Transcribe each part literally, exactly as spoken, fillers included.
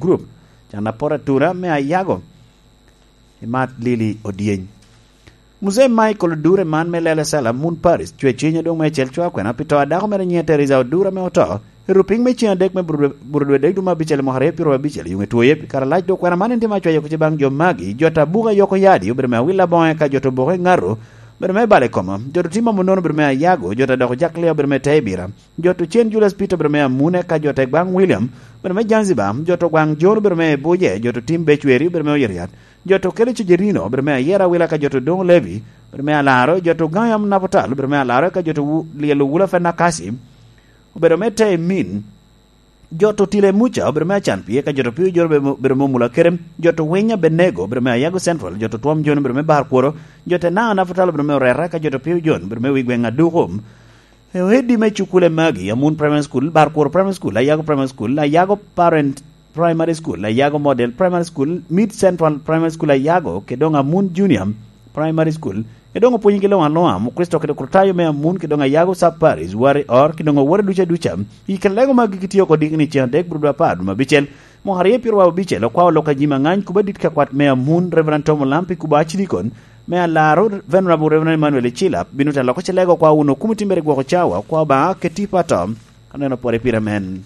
Group, can apor atura me Ayago, imat Lili Odyeny. Muzee Michael Odure man me Lele Salam, Moon Paris, cwe cwiny adwoŋ me acel cwa kwena pi to a dako mere nyiŋe Teresa Odure ame oto, i rupiny me ceŋ adek me Burudwe-, Burudwe dek dwe me abicel i mwaka aryo pyeraryo abicel, yuŋ etwoye pi kare alac. Dok kwena man en tye me acwayo kec baŋ jo magi, jo ta buka yoko yadi obedo me awil aboŋo eka jo ta oboke ŋato obedo me balo i koma, jo ta tim amo nono obedo me Ayago, jo ta doko Jack Lea obedo me Tebira, jo ta cen Julius Peter obedo me Amune eka jo ta gwaŋ William obedo me Zanzibar, jo ta gwaŋ John obedo me Buje, jo ta tim Becweri obedo me Oyeriat, jo ta kelo Cejerino obedo me Ayera Awila eka jo ta doŋ Levi obedo me Alaro, jo ta gaŋ yam Napotal obedo me Alaro eka jo ta wu-, lyelo Wula Fenakasi obedo me Temin, jo ta Tile Muca obedo me Acan Pie eka jo ta Pio Joro obedo, obedo me Omula Kerem, jo ta Winya Benego obedo me Ayago Central, jo ta Twom Joni obedo me Bar Kworo, jo ta Naŋa Napotal obedo me Oreta eka jo ta Pio Jon obedo me wi gweŋ Adukum. Ewedi me cukule magi, Amun Primary School, Barkworo Primary School, Ayago Primary School, Ayago Parent Primary School, Ayago Model Primary School, Mid Central Primary School Ayago, kede doŋ Amun Junior Primary School, kede doŋ opwonyi gi luŋ aluŋa, Mukristo kede Krutayo me Amun, kede doŋ Ayago Sub Parish, Wari Or, kede doŋ owote duca duca. I kare lego magi gitio oko dikni ceŋ adek, Burudwe apar, dwe me abicel, mwaka aryo pyeraryo abicel, okwao lok a jami aŋany, kuba dit ka kwat me Amun, Reverend Tom Olampi, kuba Archdeacon, me Alaro, Venerable Reverend Emmanuel Icilap, bino te loko celego kwa wun okumo timmere gwoko cawa, kwa Obaŋa keti pato, aneno pore pire men.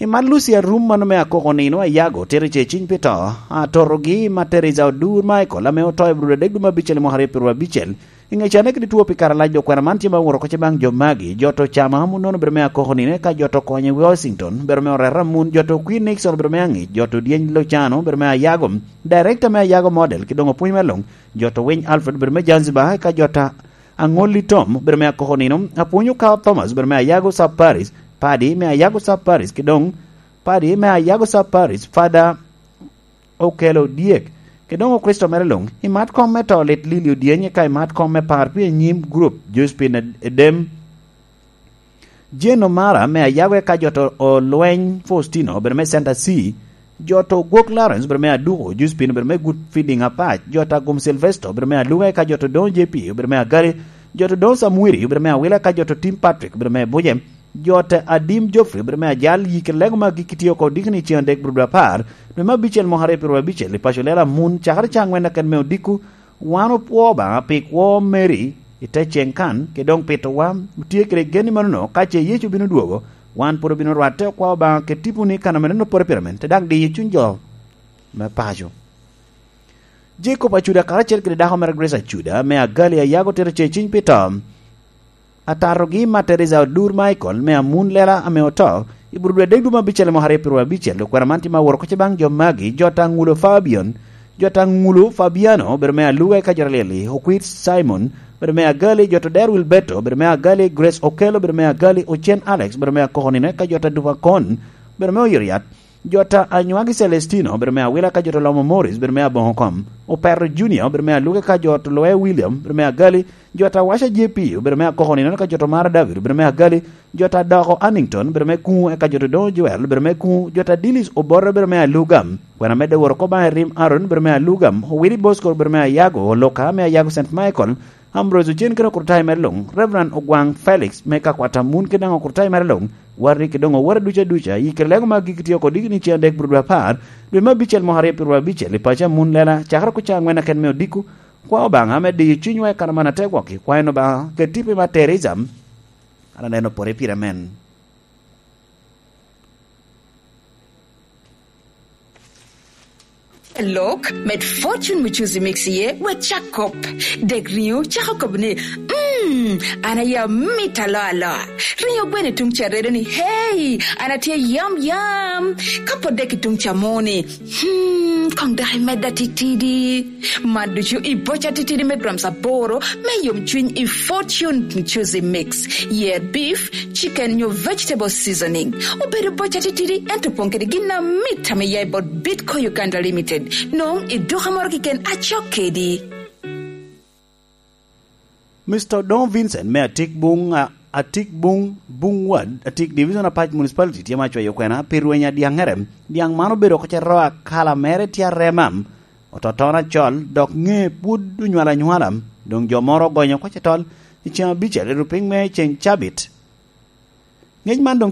I man Lucy Arum mano me akoko nino Ayago, tero ce ciny pi to, atorogi ma Teresa Odur Michael, ame oto i Abril adek dwe me abicel i mwaka aryo pyeraryo abicel, I ŋe canne kede two pi kare alac, dok kwena man tye ma oworo kocce baŋ jo magi, jo to Cama Amun nono obedo me akoko nino, eka jo to Konye Washington obedo me oreta Amun, jo to Queen Nixon obedo me aŋic, jo to Dyeny Lucano obedo me Ayago, director me Ayago Model, ki doŋ opwony me luŋ, jo to Winy Alfred obedo me Zanzibar, eka jo ta Aŋolli Tom obedo me akoko nino, Apwony Okawa Thomas obedo me Ayago Sub Parish, Padi me Ayago Sub Parish, ki doŋ Padi me Ayago Sub Parish, Father Okelo dyek, kede doŋ Okricito mere luŋ, i mat kom me to lit Lili Odyeny, eka i mat kom me par pi anyim gurup, Josephine Edem, Jane Omara me Ayago, eka jo to Olweny Faustino obedo me Center C, jo to Gwok Lawrence obedo me Aduko, Josephine obedo me Good Feeding Apac, jo to Agum Sylvester obedo me Aluga, eka jo to Doŋo J P obedo me Agali, jo to Doŋo Samwiri obedo me Awila, eka jo to Tim Patrick obedo me Buje. Jo te Adim Geoffrey obedo me ajal, yik i lego magi kitye oko dikni ceŋ adek bro dwe apar, dwe me abicel mwaka aryo pyeraryo abicel i paco Lela Amun, cakere caŋ ŋwen aken me odiko. Wan opwo Obaŋa pi kwo Mary i te ceŋ kan, kede doŋ pitowa otye kede gen ni manono, ka ce Yecu bino dwogo, wan pwod obino rwatte okwa Obaŋa kede tiponi kan ame neno pore pire men, te daŋ diyo cuny jo me paco. Jacob Acuda karacel kede dako mere Grace Acuda me Agali Ayago tito ce ciny pi to. Atatogi Materesa Odur Michael me Amun Lela ame oto i bur dwe adek dwe me abicel i mwaka aryo pyeraryo abicel, okwena man tye ma woro kocce baŋ jo magi, jo ta Ŋulo Fabian, jo ta Ŋulo Fabiano obedo me Aluga eka jo ta Lili, Okwit Simon obedo me Agali, jo ta Der Wilberto obedo me Agali, Grace Okello obedo me Agali, Ocen Alex obedo me Akoko nino eka jo ta Dupa Kon obedo me Oyeriat, jo ta Anywagi Celestino obedo me Awila ka jo ta Lomo Morris obedo me Aboŋo Kom, Opero Junior obedo me Aluga ka jo ta Loe William obedo me Agali, jo ta Waca J P obedo me Akoko nino ka jo ta Mara David obedo me Agali, jo ta Doko Annington obedo me Kuŋu eka jo ta Doŋo Joel obedo me Kuŋu, jo ta Dilis Obote obedo me Aluga, kwena medde woro oko baŋ Erim Aaron obedo me Aluga, Owili Bosco obedo me Ayago, Oloka me Ayago Saint Michael, Ambrose Ocen kede okurtayo mere luŋ, Reverend Ogwaŋ Felix me Kakwata Amun kede daŋ okurtayo mere luŋ, Warri kede doŋ owote duca duca, i kare lego magi kitye oko dikni ceŋ adek bro dwe apar, dwe me abicel mwaka aryo pyeraryo abicel i paco Amun Lela, cakere kuca aŋwen aken me odiko, kwa Obaŋa me diyo cunywa i kare man ategwok, ikwayo ni Obaŋa ket tipo i Materesa, an aneno pore pire men. Lok, med Fortune Muchuzi Mix iye, wek cak kop. Dek riŋo cako kobo ni, "Mm, an aya mit alo alo." Riŋo gweno i tuŋ ca redo ni, "Hey, an atye yam yam." Ka pot dek i tuŋ ca mo ni, "Hmm, kong dok imedda titidi." Man ducu i boca titidi me grams aboro me yom cwiny i Fortune Muchuzi Mix. Ye beef, chicken nyo vegetable seasoning. Obedo boca titidi, ento opoŋ kede gin amit ame ya i bot Bitco Uganda Limited. Nong i duka moro keken acok kedi. Mister Odongo Vincent me Atik Buŋ, a, Atik Buŋ, Buŋ Ward, Atik Division Apac Municipality tye ma cwayo kwena pi rweny a dyaŋŋere. Dyaŋ man obedo oko ce ro akala mere tye arema, ototono acol, dok ŋe pwod onywalo anywala. Doŋ jo moro ogonyo oko ce tol i ceŋ abicel i rupiny me ceŋ cabit. Ngec man doŋ tye